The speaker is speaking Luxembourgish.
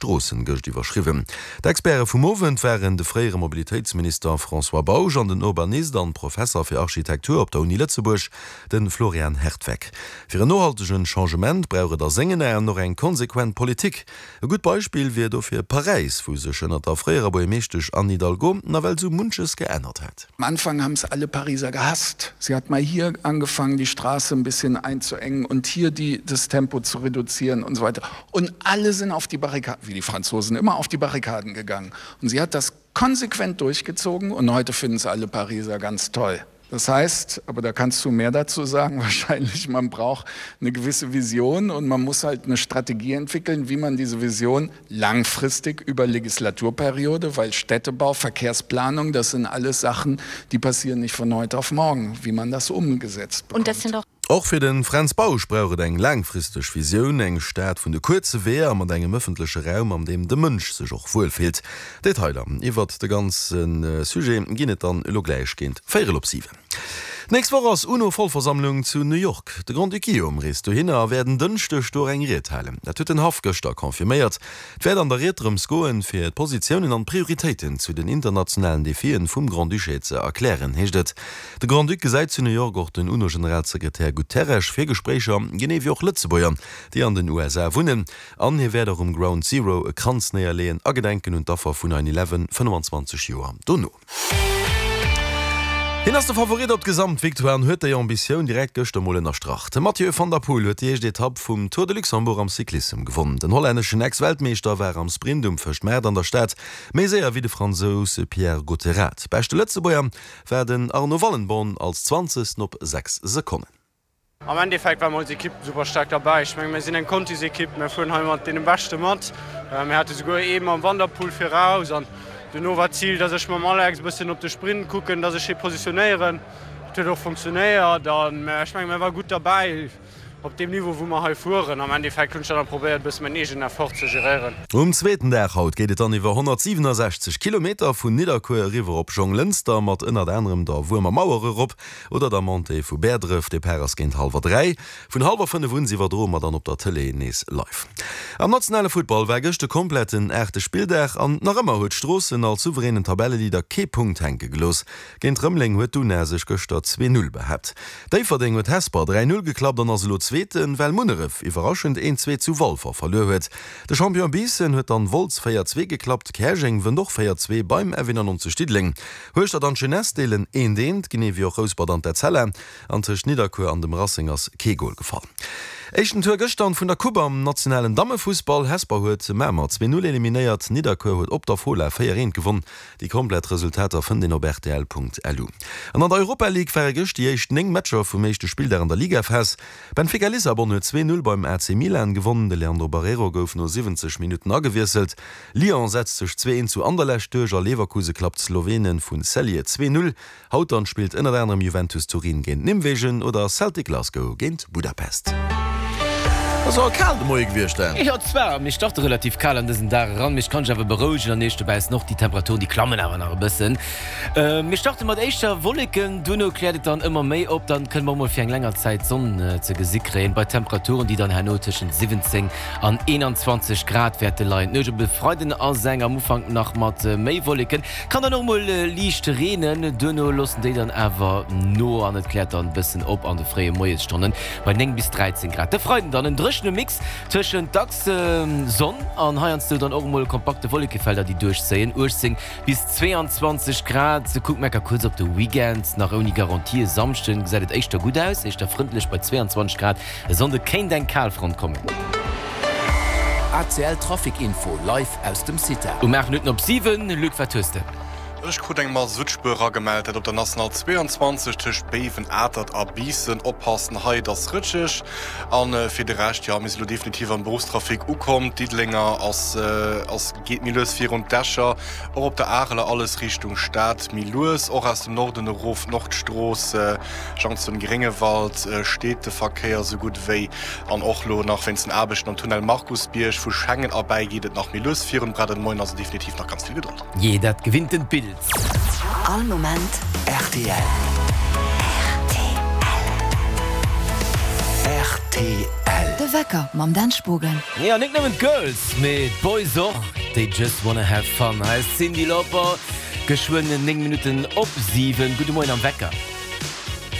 Stroossen gëscht iwwerschriwwen. D'Experte vum Owend waren de fréiere Mobilitéitsminister François Bausch an den Urbanist an Professer fir Architektur op der Uni Lëtzebuerg, de Florian Hertweck. Fir en nohaltegen Changement brauch et a sengen Aen och eng konsequent Politik. E gutt Beispill wier dofir Paräis, wou sech ënnert der fréierer Buergermeeschtesch Anne Hidalgo nawell sou munches geännert hat. Am Anfang haben es alle Pariser gehasst. Sie hat mal hier angefangen, die Straße ein bisschen einzuengen und hier die, das Tempo zu reduzieren und so weiter. Und alle sind auf die Barrikaden, wie die Franzosen immer auf die Barrikaden gegangen. Und sie hat das konsequent durchgezogen und heute finden es alle Pariser ganz toll. Das heißt, aber da kannst du mehr dazu sagen wahrscheinlich, man braucht eine gewisse Vision und man muss halt eine Strategie entwickeln, wie man diese Vision langfristig über Legislaturperiode, weil Städtebau, Verkehrsplanung, das sind alles Sachen, die passieren nicht von heute auf morgen, wie man das umgesetzt bekommt. Und das sind auch Och fir de Fränz Bausch brauch et eng laangfristeg Visioun, eng Stad vun de kuerze Weeër mat engem ëffentleche Raum, an deem de Mënsch sech och wuelfillt. Detailer iwwert de ganze Sujet ginn et dann elo gläich géint véierel op 7. D'nächst Woch ass UNO-Vollversammlung zu New York. De Grand-Duc Guillaume reest dohinner a wäert en Dënschdeg do och eng Ried halen. Dat huet den Haff gëschter confirméiert. Et wäert an der Ried drëms goen, fir d'Positiounen an d'Prioritéiten zu den internationalen Defien vum Grand-Duché ze erklären, heescht et. De Grand-Duc gesäit zu New York och den UNO-Generalsekretär Guterres fir Gespréicher, genee wéi och Lëtzebuerger, déi an den USA wunnen. An hie wäert och um Ground Zero e Kranz néierleeën a gedenken un d'Affer vun 9 Eleven 25 Joer dono. Hien ass de Favorit op d'Gesamtvictoire an huet déi Ambitioun direkt gëschter mol ënnerstrach. De Mathieu van der Poel huet déi éischt Etapp vum Tour de Luxembourg am Cyclissem gewonn. Den hollänneschen Ex-Weltmeeschter war am Sprint um Fëschtmaart an der Stad méi séier wéi de Fransous Pierre Gotterat. Beschte Lëtzebuerger war den Arno Wallenborn als Zwanzegsten op 6 Sekonnen. Am Endeffekt war mer als Ekipp super staark derbäi. Ech menge mir sinn eng Contisekipp, mir fueren hei mat deene Beschte mat. Mir hate souguer ee mam Van der Poel viraus an duerno war d'Zil, dass ech mam Alex e bëssen op de Sprint kucken, dass ech hie positionéieren. Dat huet och funktionéiert an ech menge mir ware gutt derbäi op deem Niveau wou mer hei fueren. Am Endeffekt hunn ech dann nach probéiert e bësse mäin eegenen Effort ze geréieren. Um zweeten Dag haut geet et dann iwwer 167 Kilometer vun Nidderkuer eriwwer op Jonglënster mat ënnert anerem der Wuermer Mauer erop. Oder der Montée vu Bäerdref. Depart ass géint hallwer 3. Vun hallwer 5 un iwwerdroe mer dann op der Tëlee nees live. Am nationale Futtball war gëscht de kompletten aachte Spilldag an nach ëmmer huet Stroossen als souveränen Tabelleleader kee Punkt hänke gelooss. Géint Rëmeleng huet d'Una sech gëschter 2, 0 behaapt. Déifferdeng huet Hesper 3, 0 geklappt an ass elo Zweeten, well Munneref iwwerraschend 1, 2 zu Walfer verluer huet. De Champion Biissen huet dann Wolz 4, 2 geklappt. Käerjeng wënnt och 4, 2 beim F91 Diddeleng. Hueschtert an d'Jeunesse deelen eent eent, genee wéi och Rouspert an d'Etzella. An tëscht Nidderkuer an dem Racing ass kee Gol gefall. Éischten Tour gëschter vun der Coupe am nationalen Dammefussball. Hesper huet Mamer 2, 0 eliminéiert, Nidderkuer huet op der Fola 4, 1 gewonn. Déi komplett Resultater fënnt een op rtl.lu. An an der Europa League ware gëscht déi éischt 9 Matcher vum éischte Spilldag an der Ligaphas. Benfica Lissabon huet 2, 0 beim AC Milan gewonnen, de Leandro Barreiro gouf no 70 Minutten agewiesselt. Lyon setzt sech 2, 1 zu Anderlecht duerch a Leverkuse klappt d'Slowenen vu Celje 2, 0. Haut dann spillt ënnert anerem Juventus Turin géint Nimwegen oder Celtic Glasgow géint Budapest. Ass awer kal de Moie gewiescht, hein? Jo zwar, mir starte relativ kal an dësen Dag eran, mee ech kann dech awer berouegen an iech dobaussen och, déi Temperaturen déi klammen awer nach e bëssen. Mir starte mat éischter Wolleken, duerno kläert et dann ëmmer méi op, dann kënne mer och mol fir eng länger Zäit d'Sonn ze gesi kréien, bei Temperaturen déi dann herno tëschent 17 an 21 Grad wäerte leien. D'Nuecht op e Freiden ass eng am Ufank nach mat méi Wolleken, kann dann och mol liicht reenen, duerno loossen déi dann awer no an et kläert dann bëssen op an de fréie Moiesstonnen bei 9 bis 13 Grad. De Freiden dann en dréchene Mix tëschent dacks Sonn an heiansdo dann och mol kompakte Wollekefelder déi duerchzéien, 18 bis 22 Grad. Kucke mer kuerz op de Weekend, nach ouni Garantie, e Samschden gesäit et éischter gutt aus, éischter frëndlech bei 22 Grad. E Sonnde kéint eng Kalfront kommen. ACL Trafic Info live aus dem CITA. Um 8 Minutten op 7, Luc, wat hues de? Ech krut eng Masuttspuer eragemellt, dat op der National 22 tëscht Béiwen, Atert a Biissen. Oppassen hei, et ass rëtscheg. An fir de Rescht, jo, mir si lo definitiv am Beruffstrafic ukomm. D'Diddelenger ass ass geet méi lues virun, d'Escher och op der Areler, alles Richtung Stad méi lues, och aus dem Norden erof d'Nordstrooss. Junction Gréngewald steet de Verkéier sou gutt ewéi an och lo nach wéinst den Aarbechten am Tunnel Markusbierg vu Schengen erbäi geet et nach méi lues virun. Braucht den Moien also definitiv nach ganz vill Gedold. Jee, dat gewinntent Bild. All Moment rtl. Rtl. Rtl. De. Wecker mam Dan Spogen. Jo, net nëmmen d'Girls, mee d'Boys och, they just wanna have fun. Hei ass d'Cyndi Lauper, geschwënn 9 Minutten op 7. Gudde Moien am Wecker.